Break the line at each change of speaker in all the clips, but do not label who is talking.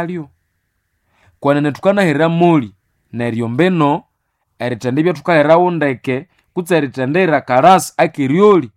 Lyo kwenene thukanahera moli neryo mbino erithendibya thukaherawo ndeke kutse erithendira akalasi akeryolya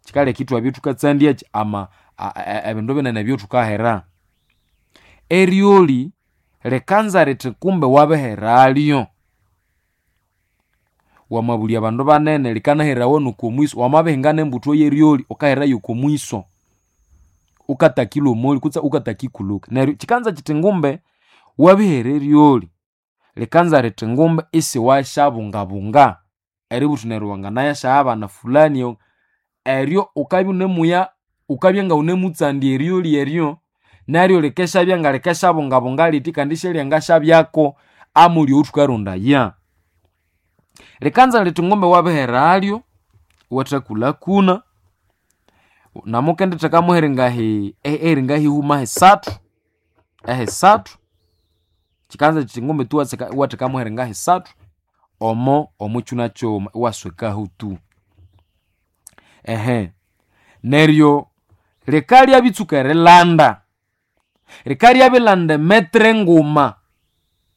kyikaleka ithwabya ithukatsandyakyi ama ebindu binene ebyathukahera. Eryolyi likanza rithi kumbe wabiheralyo. Wamabulya abandu banene likanaherawa noko mwiso, wamabihinga nembuthu yeryolyi wukaherayo oko mwiso wukatakilhwa omolyi kutse wukatakikulhuka. Neryo kyikanza kyithi ngumbe wabihera eryolyi likanza rithi ngumbe isiwasyabungabunga eribugha wuthi neryo wanganayasyahabana fulani eryo wukabya wunemuya wukabya ngawunemutsandya eryolyi eryo neryo likesyabya ngalikesyabungabunga lithi kandi isyalyangasyabyako amolyi owathukarondaya. Likanza lithi ngumbe wabiheralyo iwathakulhakuna namukendithekamu eringahi ehihuma hisathu ehisathu kyikanza kyithi ngumbe tu iwathekamu eringa hisathu omo omukyuna kyighuma iwaswekaho tu. Ehe neryo likalya bitsuka erilanda, likalya bilanda emetre nguma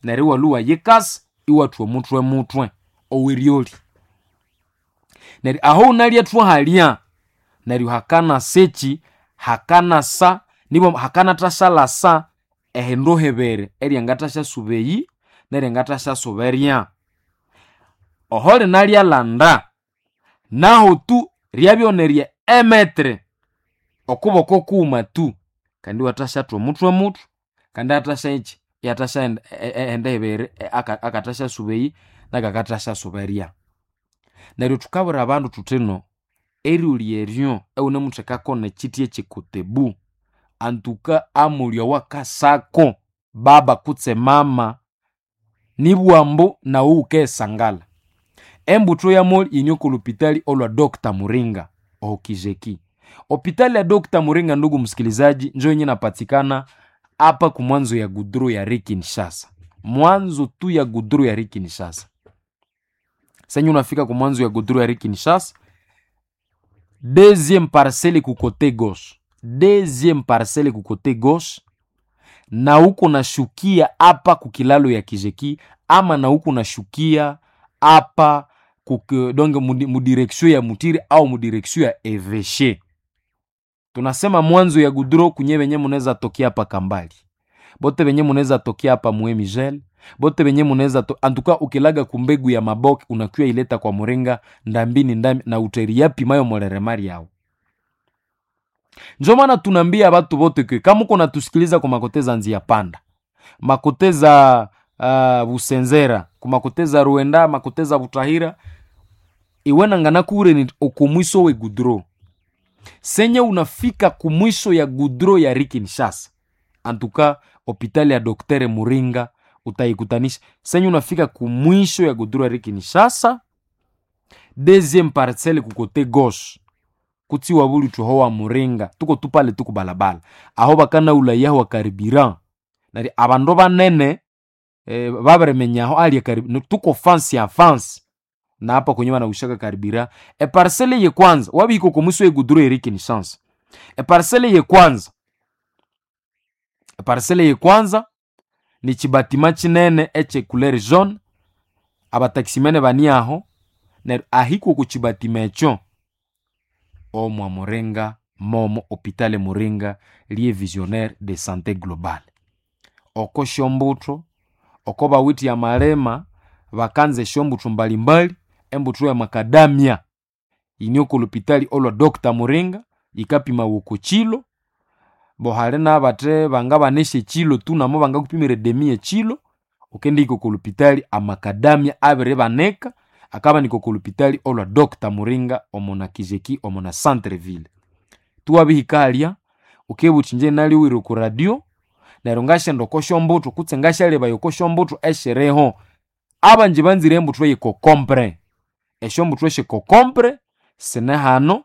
neryo iwalhwa iwayikasa iwathwa omuthwe muthwe oweryolya. Neryo aho wunalyathwa halya neryo hakanasa ekyi hakanasa nibwa hakanathasyalasa ehindu hibiri eryangathasyasuba eyi neryangathasyasuba erya. Oho linalyalanda nahu tu ryabyonerya emetre okuboko kughuma tu kandi iwathasyathwa omuthwe muthwe kandi iyathasya iyathasyaghenda ehindu hibiri akathasyasuba eyi nakakathasyasuba erya. Neryo thukabwira abandu thuthino eryolya eryo ewunemuthekako nekyithi ekyikotebu antuka amolyo awakasako baba kutse mama nibugha ambu nawu wukayisangala. Embuthu yamolyo yine oko lhupitali olwa Doctor Muringa okijeki. Hopitali ya Doctor Muringa ndugu msikilizaji njo yenye inapatikana hapa kumwanzo ya gudro ya Kinshasa. Mwanzo tu ya gudro ya Kinshasa. Senye unafika kumwanzo ya gudro ya Kinshasa, deuxième parcelle ku côté gauche. Deuxième parcelle ku côté gauche na huko nashukia hapa kukilalo ya Kijeki ama na huko nashukia hapa donc mudirection ya Mutiri au mudirection ya Eveshe. Tunasema mwanzo ya gudro kunye benye munaweza tokea hapa Kambali, bote benye munaweza tokea hapa Muemigel, bote benye munaweza to... antuka ukilaga kumbegu ya maboke unakuya ileta kwa Muringa ndambini ndambi na uteri yapi mayo moleremari yao. Njo maana tunaambia batu bote ke kama uko natusikiliza kwa makoteza nzia panda makoteza Busenzera kumakoteza Ruenda makoteza Butahira iwenangana kure ni okumwiso we gudro senye unafika kumwisho ya gudro ya Kinshasa antuka hopitali ya Doktere Muringa utaikutanisha senye unafika kumwisho ya gudro ya Kinshasa deuxième parcelle kukote gauche kutsiwa buli tuho wa Muringa tuko tupale tuku balabala aho bakana ulaya wa karibira nari abandu banene e, babiremenyaho ali karibu tuko fancy ya fancy na hapa kwenye wanaushaka karibira e parcelle ye kwanza wabiko komuso ye gudro eri Kinshasa e parcelle ye kwanza e parcelle ye kwanza ni chibatima chinene eche couleur jaune abataximene bani aho neryo ahiko ku chibatima echo omwa Muringa momo hopitale Muringa liye visionnaire de santé globale oko shombutho oko bawithe amalema bakanza esyombutho mbalimbali embutho ya makadamia yine oko lhupitali olwa Dr. Muringa yikapimawa oko kilo bo hali nabathe bangabanesya ekilo tu namo bangakupimira edemi yekilo wukendihika oko lhupitali amakadamia abiribanika akabanika oko lhupitali olwa Dr. Muringa omo na Kijeki omo na centre ville. Tuwabihika halya wukibugha wuthi ingye nalhiwire oko radio neryo ngasyenda oko syombutho kutse ngasyalebaya oko syombutho esyiriho. Abanji banzire embuthu eyekokompre esyombutho esyekokompre sine hano,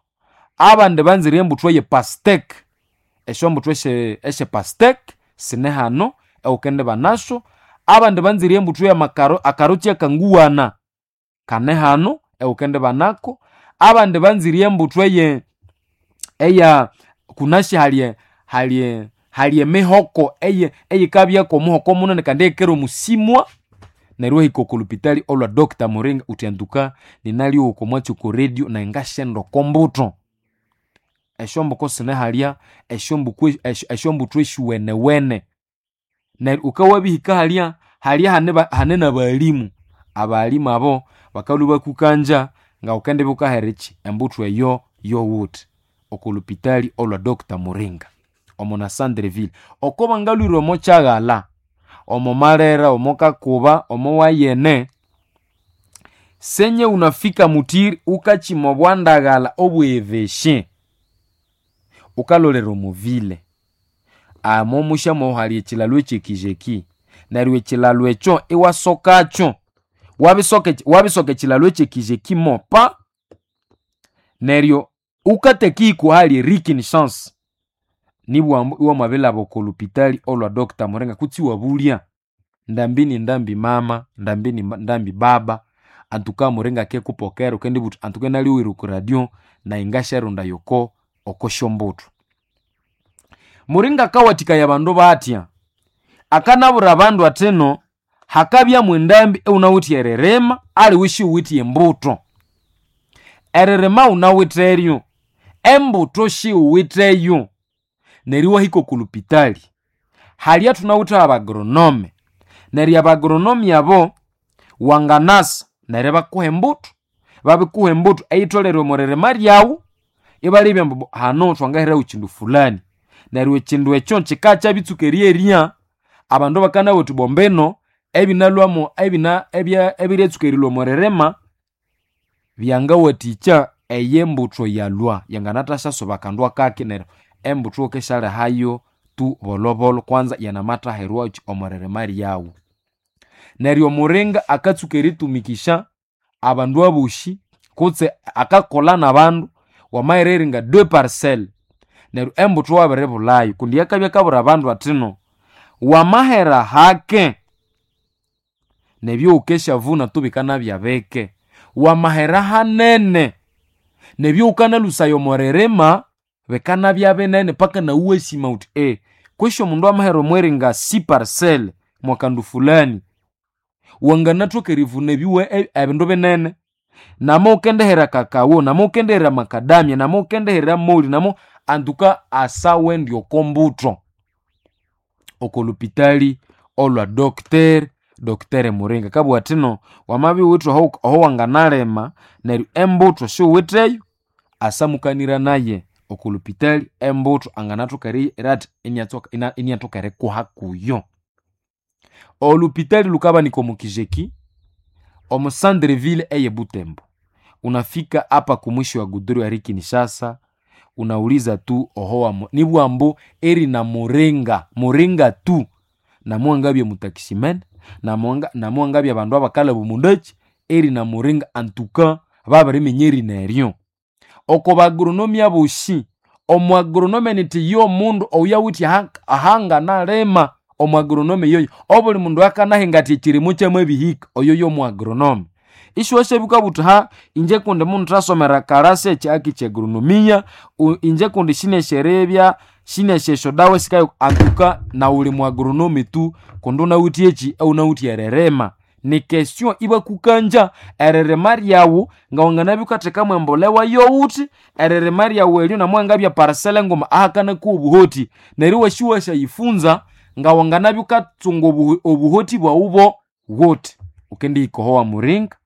abandi banzire embuthu eye pasiteke esyombutho esye pasiteke sine hano ewukendibanasyo, abandi banzire embuthu eyamakaro akaroti akanguwana kane hano ewukendibanako, abandi banzire embuthu eye eya kunasi halye halye Hali emihoko eyikabyako omuhoko munene kandi eyikera omusimwa. Neryo iwahika oko lupitali olwa Dr. Muringa uthi antuka ninalyowa oko mwatsi oko radio nayi ngasyenda oko mbuto. Esyomboko sine halya, esyombuthu esyuwenewene. Neryo wukawabihika halya, halya hane n'abalimu. Abalimu abo bakalhwa ibakukanja ngawukendibya wukahera ekyi embuthu eyo yowuthi oko lupitali olwa Dr. Muringa omo na Sandreville. Oko bangalhwire omo kyaghalha, omo Malera, omo Kakuba, omo Wayene, senye unafika Mutiri wukakyima obwandaghalha obwevesye, wukalolera omuvile. Omo musyamowo hali ekyilalo ekyekizeki, neryo ekyilalo ekyo iwasokakyo, wabisoka ekyilalo ekyekizeki mopa, neryo wukatekihika ahali Rikin Chance, nibughambu iwamabilhaba oko lupitali olwa Dr. Muringa kutse iwabulya ndambi ni ndambi mama, ndambi ni ndambi baba, antuka Muringa akikupokera wukendibugha wuthi antuka inalyowere oko radio nayi ngasyarondaya oko okosyombuthu. Muringa akawathikaya abandu batya? Akanabwira abandu athino hakabyamu endambi ewunawithe eririma aliwe isiwuwithe embuthu. Eririma wunawitheryo, embuthu siwuwitheyo. Neryo iwahika oko lupitali, halya thunawithe abagoronome, neryo abagoronome abo wanganasa neryo ibakuha embuthu, babikuha embuthu eyitholere omo ririma ryawu, ibalebya ambu hano thwangaheraho kyindu fulani. Neryo ekyindu ekyo kikakyabitsuka eryerya, abandu bakanabugha bathi bombino ebinalhwamo ebiryatsuka erilhwa omo ririma byangawathikya eyembuthu yalhwa yanganathasyasuba akandu akake neryo embuthu wukisyalihayo tu bolhobolho kwanza yanamathaherwakyi omo ririma ryawu. Neryo omuringa akatsuka eritumikisya abandu abosi kutse akakolha n'abandu, wamahera eringa deux parcelles, neryo embuthu iwabiribulhayo kundi akabya akabwira abandu athino wamahera hake nebyowukesyavuna tu bikanabya bike, wamahera hanene nebyowukanalhusaya omo ririma bikanabya binene paka nawu iwasima wuthi kwesi omundu amahera omweringa six parcelles mwakandu fulani, wanganathoka erivuna ebindu binene. Nama wukendihera kakawo, nama wukendihera makadamia, nama wukendihera moli, nama antuka asawendi oko mbutho oko lupitali olwa Dr. Dr. Muringa. Akabugha athino wamabya iwuwithe aho wanganalima neryo embuthu siwuwitheyo, asamukanira naye oko lupitali embuthu anganathoka athi iniathoka erikuha kuyo. Olupitali lukabanika omo Kizeki, omo Sandreville eye Butembo. Unafika apa kumwisho wa guduru ya Kinshasa, unauliza tu oho nibugha ambu erina Muringa, Muringa tu namuwangabya mutaximene, namuwangabya abandu abakalhaba omundakyi, erina Muringa antuka babiriminya erina eryo. Oko bagoronome abosi, omwagoronome nithi yomundu oyuwithe ahanganalima, omwagoronome yoyo. Obuli mundu akanahinga athi ekyirimo kyamabihika, oyo yomwagoronome. Isiwasyabya wukabugha wuthi ha inje kundi munthasomera kalasi ekyihaki kyagoronomia, inje kundi sinesyerebya, sinesya esyodawa esikayo antuka nawu wuli mwagoronome tu kundi wunawithe ekyi ewunawithe eririma. Ni question ibakukanja eririma ryawu ngawanganabya wukathekamu embolewa yowuthi, eririma ryawu eryo namuwangabya parcel nguma ahakanakuwa obuhoti, neryo iwasya iwasyayifunza ngawanganabya wukatsunga obuhoti bwawu bowuthi. Wukendihika oho wamuringa,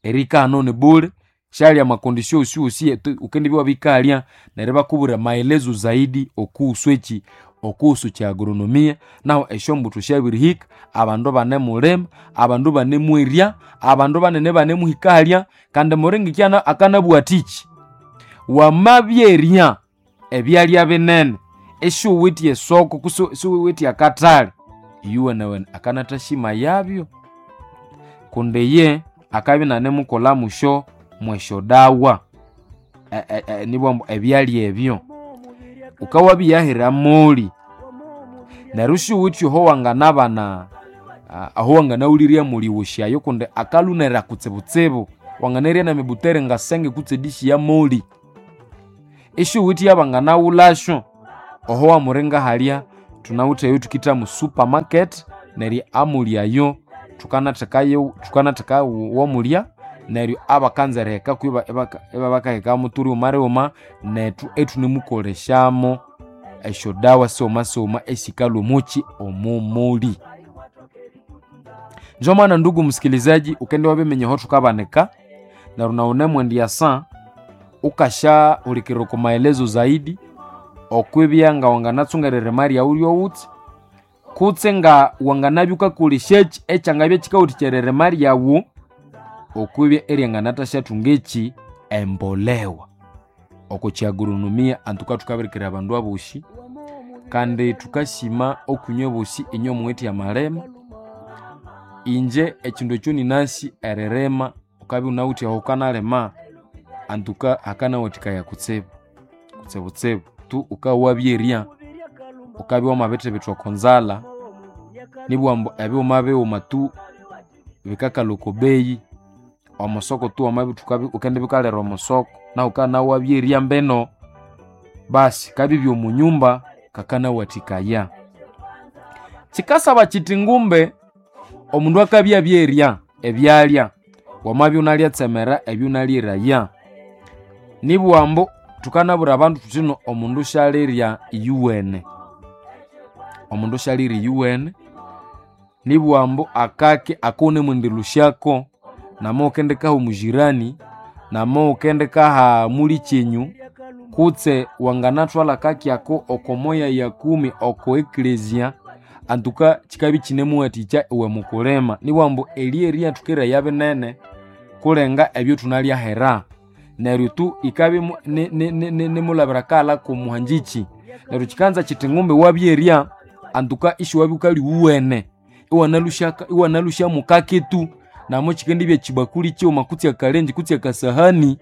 erihika hano ni bule, syali amakondisio wosiwosi wukendibya iwabikalya neryo ibakubwira maelezo zaidi okuhusu ekyi okuhusu kyagoronomia. Nahu esyombuthu syabirihika, abandu banemulima, abandu banemwerya, abandu banene banemuhika halya, kandi Muringa ikya akanabugha athiki, wamabyerya ebyalya binene isiwuwithe esoko kutse isiwuwithe akathali, iyuwenewene akanathasima yabyo kundi iye akabya inanemukolha musyo mwesyodawa nibugha ambu ebyalya ebyo. Wukawabiyahira moli, neryo isiwuwithe oho wanganabana aho wanganaghulirya moli wosyayo kundi akalhunera kutsibutsibu, wanganarya nemibutere ngasenge kutse edishi ya moli. Isiwuwithe yabanganaghulhasyo. Oho wamuringa halya tunawitheyo tukita mu supermarket, neryo amulyayo tukanathekayo tukanatheka womulya, neryo abakanza eriheka kwiba ibabakaheka muturi wuma nethu ethunemukoleshamo esyodawa sighuma sighuma esikalwa omuki omumuli. Njo maana ndugu msikilizaji, ukende wabiminya aho thukabanika, neryo nawu wunemwendyasa ukasyahulikirira oko maelezo zaidi okwibya nga wanganatsunga eririma ryawu ryowuthi, kutse nga wanganabya wukakolesyaki ekyangabya kyikawathikya eririma ryawu okwibya eryanganathathunga eki embolewa. Oko kyagronomia antuka thukabirikira abandu abosi, kandi thukasima okwinywe bosi inywe muwithe amalima. Inje ekindu ekyo ninasi eririma, wukabya iwunawithe aho wukanalima, antuka hakanawathikaya kutsibu, kutsibutsibu tu wukabya wabyerya, wukabya wamabithibitha oko nzalha, nibugha ambu ebighuma bighuma tu bikakalha oko beyi, omusoko tu wamabithuka wukendibya wukalira omusoko, nahu wukabya nawu wabyerya mbino, basi kabya ibyomunyumba kakanawathikaya. Kyikasaba kyithi ngumbe omundu akabya abyerya ebyalya, wamabya iwunalya tsemera ebyunalyeraya, nibugha ambu thukanabwira abandu thuthino omundu syalirya iyuwene, omundu syalirya iyuwene, nibugha ambu akake akawunemwendilusyako, nama wukendikaha omujirani, nama wukendikaha mulikyenyu, kutse wanganathwalha akake ako oko moya ya kumi oko eklezia, antuka kyikabya ikyinemuwathikya iwe mukulima. Nibugha ambu eryerya thukeraya binene kulenga ebyothunalya hera, neryo tu ikabya nimulabira akaghalha komuhanjikyi. Neryo kyikanza kyithi ngumbi wabyerya antuka isiwabya wukalya iwuwene, iwanalusya mukake tu, namo kyikendibya kyibakuli kyighuma kutse akalenje kutse akasahani,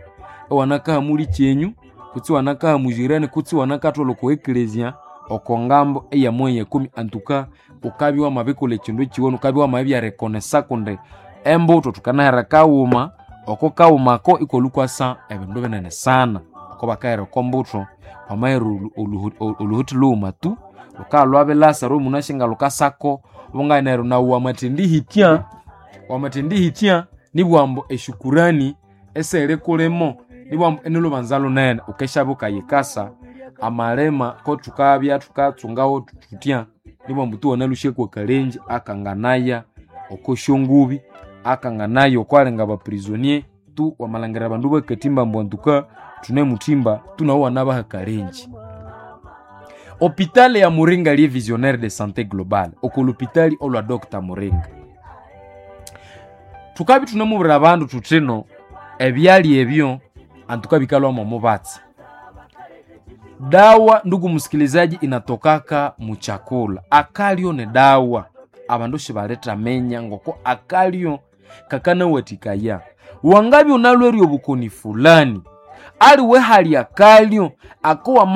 iwanakaha mulikyenyu kutse iwanakaha mujirani kutse iwanakathwalha oko eklezia oko ngambo eya moya ya kumi, antuka wukabya wamabikolha ekindu kyiwene, wukabya wamabya rekonesa kundi embutho thukanahera kaghuma, oko kaghuma ako ikwalhwa ikwasa ebindu binene sana. Oko bakahera oko mbutho, wamahera oluhuthi lhughuma tu, lhukalha lwabilasa neryo munasyi nga lhukasako bungabya neryo nawu wamathendihitya, wamathendihitya nibugha ambu eshukurani esihiri kulimo, nibugha ambu inilhubanza lunene wukesyabya wukayikasa amalima kothukabya thukatsungawo thuthya, nibugha ambu tu wanalhusyako akalenje akanganaya oko syongubi, akanganaya okwalinga abaprisonie, tu wamalhangira abandu bakathimba ambu antuka thunemuthimba tu nawu iwanabaha akalenje. Hopitali ya Muringa liye visionnaire de santé globale, oko lupitali olwa Dr. Muringa. Thukabya thunemubwira abandu thuthino ebyalya ebyo antuka bikalhwamo omubatsi. Dawa ndugu msikilizaji, inatokaka muchakula. Akalyo ni dawa, abandu sibalithaminya ngoko akalyo kakanawathikaya. Wangabya wunalhwere obukoni fulani, aliwe hali akalyo ako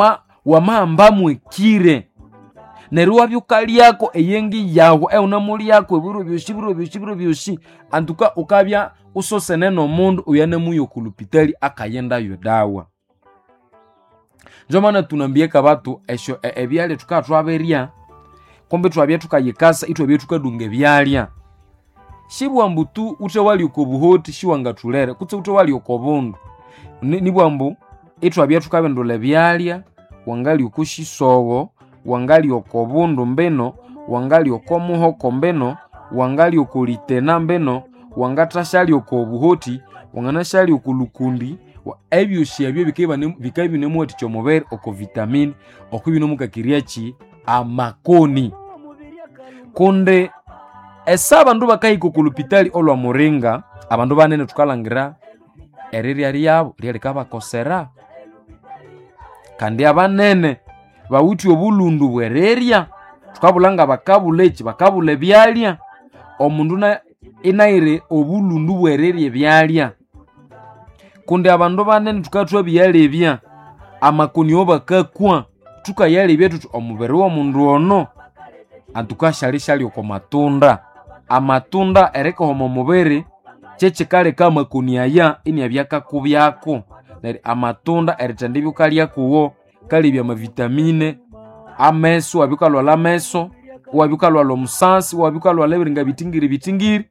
wamahamba mwekire, neryo iwabya wukalyako eyengi yawu ewunamulyako ebiro byosi biro byosi biro byosi, antuka wukabya wusosene nomundu oyunamuya oko lupitali akayendayo edawa. Njo maana thunambiaka batu esyo ebyalya thukabya thwabirya, kumbi ithwabya thukayikasa ithwabya thukadunga ebyalya. Sibugha ambu tu wuthe walya oko buhoti siwangathulere kutse wuthe walya oko bundu, nibugha ambu ithwabya thukabindulha ebyalya, wangalya oko sisogho, wangalya oko bundu mbino, wangalya oko muhoko mbino, wangalya oko litena mbino, wangathasyalya oko buhoti, wanganasyalya oko lukundi, ebyosi ebyo bikabya ibinemuwathikya omubiri oko vitamini, oko ibinemukakirya amakoni. Kundi esa abandu bakahika oko lupitali olwa Muringa, abandu banene thukalhangira erirya ryabo lyalikabakosera, kandi abanene bawithe obulhundu bw'erirya, thukabulha ngabakabulha eki, bakabulha ebyalya. Omundu inayire obulhundu bw'erirya ebyalya, kundi abandu banene thukabya thwabiyalebya amakoni awabakakwa, thukayalebya thuthi omubiri w'omundu ono antuka syalisyalya oko matunda. Amatunda erikahoma omubiri kyekikaleka amakoni aya iniabya akakubyako. Neryo amatunda erithendibya wukalya kuwo kalebya amavitamine Ameso, wabya wukalwalha ameso, wabya wukalwalha omusasi, wabya wukalwalha ebiringa bitingiri bitingiri,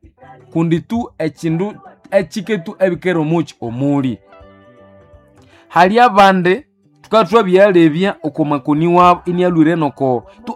kundi tu ekindu ekike tu ebikere omuki omuli. Hali abandi tukabya thwabyalebya oko makoni wabo inialhwire noko tu